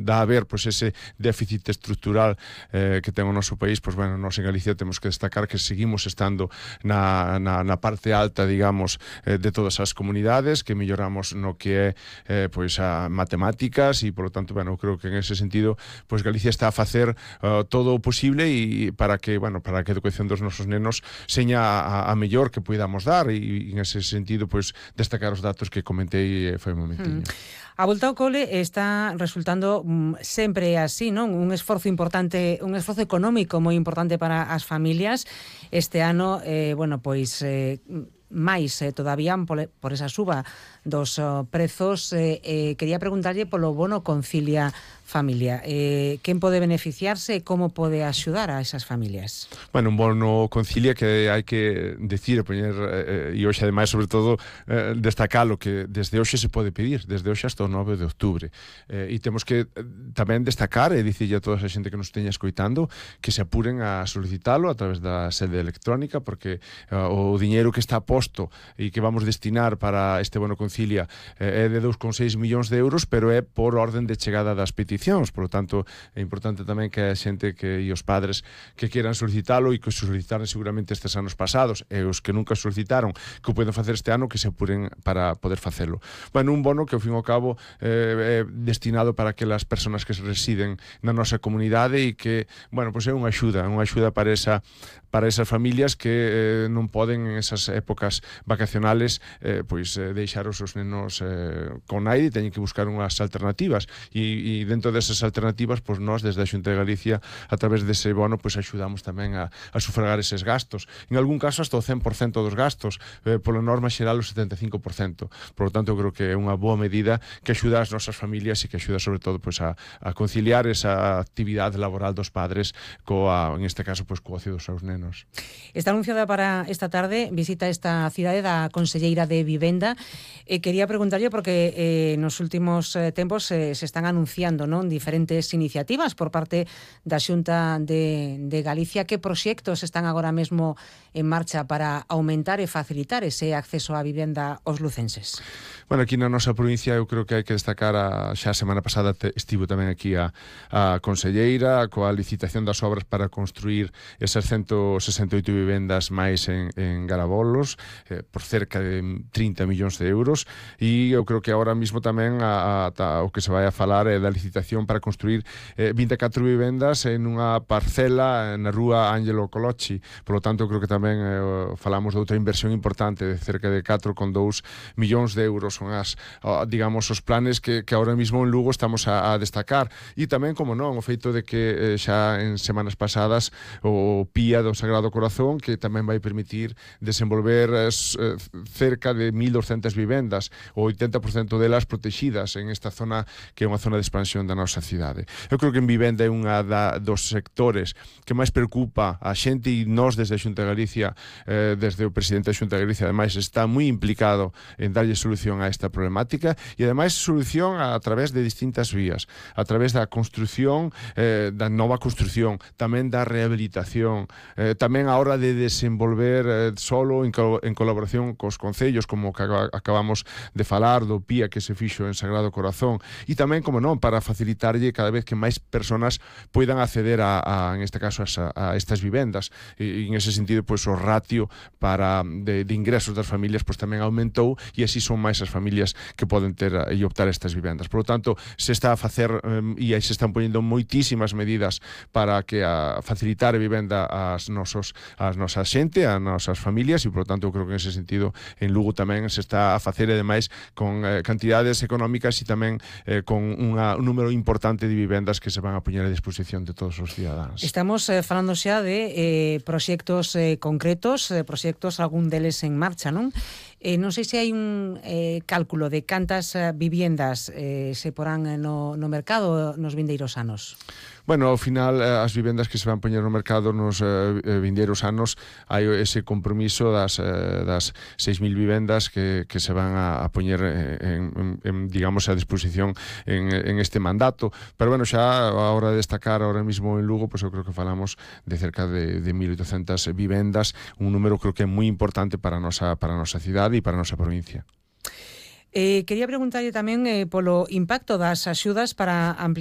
dá a ver pois ese déficit estrutural que ten o noso país, pois bueno, nós en Galicia temos que destacar que seguimos estando na parte alta, digamos, de todas as comunidades, que melloramos no que é pois a matemáticas e, polo tanto, bueno, creo que en ese sentido pois Galicia está a facer todo o posible e para que a educación dos nosos nenos seña a mellor que podamos dar e en ese sentido pois destacar os datos que comentei foi un momentiño. A volta ao cole está resultando sempre así, non? Un esforzo importante, un esforzo económico moi importante para as familias. Este ano, máis todavía por esa suba dos prezos. Quería preguntarlle polo bono Concilia Familia. Quen pode beneficiarse e como pode axudar a esas familias? Bueno, un bono Concilia que hai que decir, poñer, e hoxe ademais, sobre todo, destacalo, que desde hoxe se pode pedir, desde hoxe hasta o 9 de outubro. E temos que tamén destacar, e dicirlle a toda a xente que nos teña escoitando, que se apuren a solicitalo a través da sede electrónica, porque o diñeiro que está posto e que vamos destinar para este bono Concilia é de 2,6 millóns de euros, pero é por orden de chegada das peticións. Por lo tanto, é importante tamén que a xente e os padres que queran solicitalo e que solicitaron seguramente estes anos pasados e os que nunca solicitaron que o poden facer este ano, que se apuren para poder facelo. Bueno, un bono que ao fin e ao cabo é destinado para aquelas persoas que residen na nosa comunidade e que, bueno, pois é unha axuda para esas familias que non poden en esas épocas vacacionales deixar os seus nenos con aire e teñen que buscar unhas alternativas e dentro desas alternativas, pois nós desde a Xunta de Galicia a través dese bono pois axudamos tamén a sufragar eses gastos, en algún caso hasta o 100% dos gastos, pola norma xeral o 75%. Por lo tanto, eu creo que é unha boa medida que axuda as nosas familias e que axuda sobre todo pois a conciliar esa actividade laboral dos padres en este caso pois co ocio dos seus nenos. Está anunciada para esta tarde visita a esta cidade da Conselleira de Vivenda. Quería preguntarlle porque nos últimos tempos se están anunciando, non, diferentes iniciativas por parte da Xunta de Galicia. Que proxectos están agora mesmo en marcha para aumentar e facilitar ese acceso á vivenda aos lucenses? Bueno, aquí na nosa provincia eu creo que hai que destacar xa a semana pasada estivo tamén aquí a Conselleira coa licitación das obras para construir esas 168 vivendas máis en Garabolos por cerca de 30 millóns de euros e eu creo que agora mismo tamén o que se vai a falar é da licitación para construir 24 vivendas en unha parcela na rúa Ángelo Colocci. Por lo tanto, eu creo que tamén falamos de outra inversión importante de cerca de 4,2 millóns de euros. Son digamos, os planes que agora mismo en Lugo estamos a destacar. E tamén, como non, o feito de que xa en semanas pasadas o PIA do Sagrado Corazón, que tamén vai permitir desenvolver cerca de 1.200 vivendas, o 80% delas protegidas en esta zona que é unha zona de expansión da nosa cidade. Eu creo que en vivenda é unha dos sectores que máis preocupa a xente e nós desde a Xunta de Galicia, desde o presidente da Xunta de Galicia, ademais está moi implicado en darlle solución a esta problemática e ademais solución a través de distintas vías, a través da construción, da nova construción, tamén da rehabilitación, tamén a hora de desenvolver solo en colaboración cos concellos, como que acabamos de falar do PIA que se fixo en Sagrado Corazón, e tamén, como non, para facilitarlle cada vez que máis persoas poidan acceder en este caso a estas vivendas e en ese sentido pois o ratio de ingresos das familias pois tamén aumentou e así son máis as familias que poden ter e optar a estas vivendas. Por lo tanto, se está a facer e aí se están poñendo moitísimas medidas para que facilitar a vivenda ás nosa xente, ás nosas familias e, por lo tanto, eu creo que en ese sentido en Lugo tamén se está a facer e demais con cantidades económicas e tamén con un número importante de vivendas que se van a poñer a disposición de todos os cidadáns. Estamos falando xa de proxectos concretos, proxectos algún deles en marcha, non? Non sei se hai un cálculo de cantas viviendas se porán no mercado nos vindeiros anos. Bueno, ao final, as vivendas que se van poñer no mercado nos vindeiros anos hai ese compromiso das 6.000 vivendas que se van a poñer digamos, a disposición en este mandato. Pero, bueno, xa a hora de destacar ahora mismo en Lugo, pues eu creo que falamos de cerca de 1.800 vivendas, un número creo que é moi importante para a nosa cidade e para a nosa provincia. Quería preguntarlle tamén polo impacto das axudas para ampliación